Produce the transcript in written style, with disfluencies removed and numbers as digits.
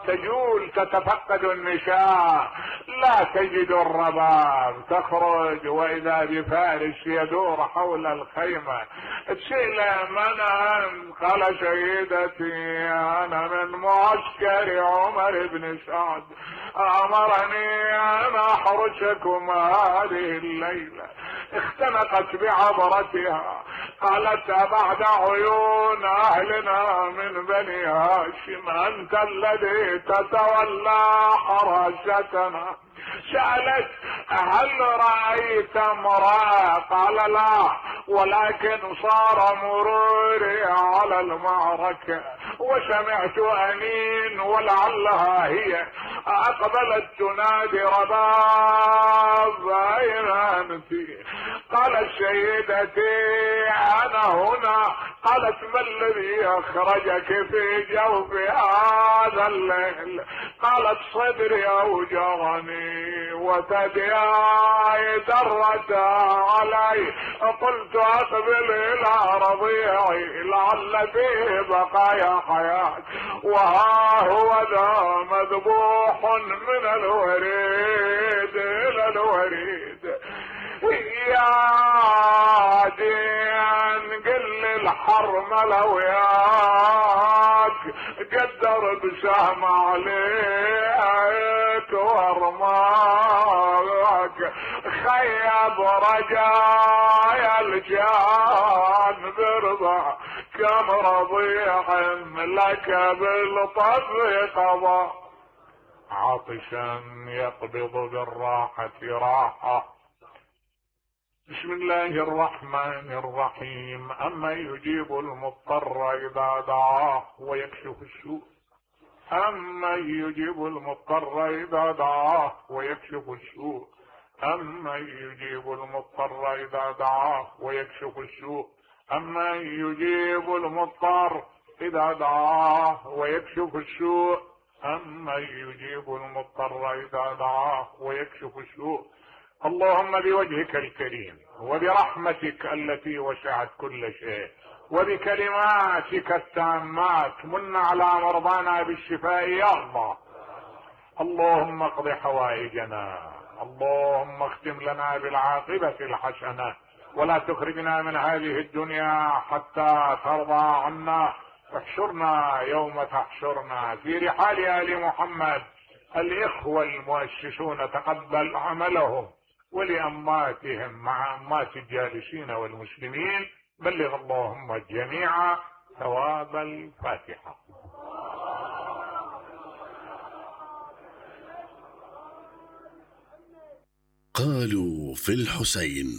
تجول تتفقد النشاء لا تجد الرباب، تخرج واذا بفارس يدور حول الخيمة. تسأل من انت؟ قال سيدتي انا من معسكر عمر بن سعد، امرني ان احرسكم هذه الليلة. اختنقت بعبرتها قالت بعد عيون اهلنا من بني هاشم انت الذي تتولى حراستنا؟ سألت هل رأيت امرأة؟ قال لا، ولكن صار مروري على المعركة وسمعت أنين ولعلها هي، أقبلت تنادي رباب أين أنت؟ قالت سيدتي أنا هنا. قالت ما الذي أخرجك في جوف هذا الليل؟ قالت صدري أوجعني وثدياي درت علي، قلت أقبل إلى رضيعي لعل فيه بقايا حياة، وها هو ذا مذبوح من الوريد إلى الوريد. يا دين قل الحرملة وياك قدر بسهم عليك وارماك، خيب رجايا الجان برضا كم رضيع لك بالطبع قضى، عطشا يقبض بالراحة راحة. بسم الله الرحمن الرحيم. أما يجيب المضطر إذا دعاه ويكشف السوء، أما يجيب المضطر إذا دعاه ويكشف السوء، أما يجيب المضطر إذا دعاه ويكشف السوء، أما يجيب المضطر إذا دعاه ويكشف السوء، أما يجيب المضطر إذا دعاه ويكشف السوء. اللهم بوجهك الكريم وبرحمتك التي وسعت كل شيء وبكلماتك التامات من على مرضانا بالشفاء يا الله. اللهم اقض حوائجنا، اللهم اختم لنا بالعاقبة الحسنة، ولا تخرجنا من هذه الدنيا حتى ترضى عنا. احشرنا يوم تحشرنا في رحال آل محمد. الإخوة المؤسسون تقبل عملهم، ولأماتهم مع أمات الجالسين والمسلمين بلغ اللهم الجميع ثواب الفاتحة. قالوا في الحسين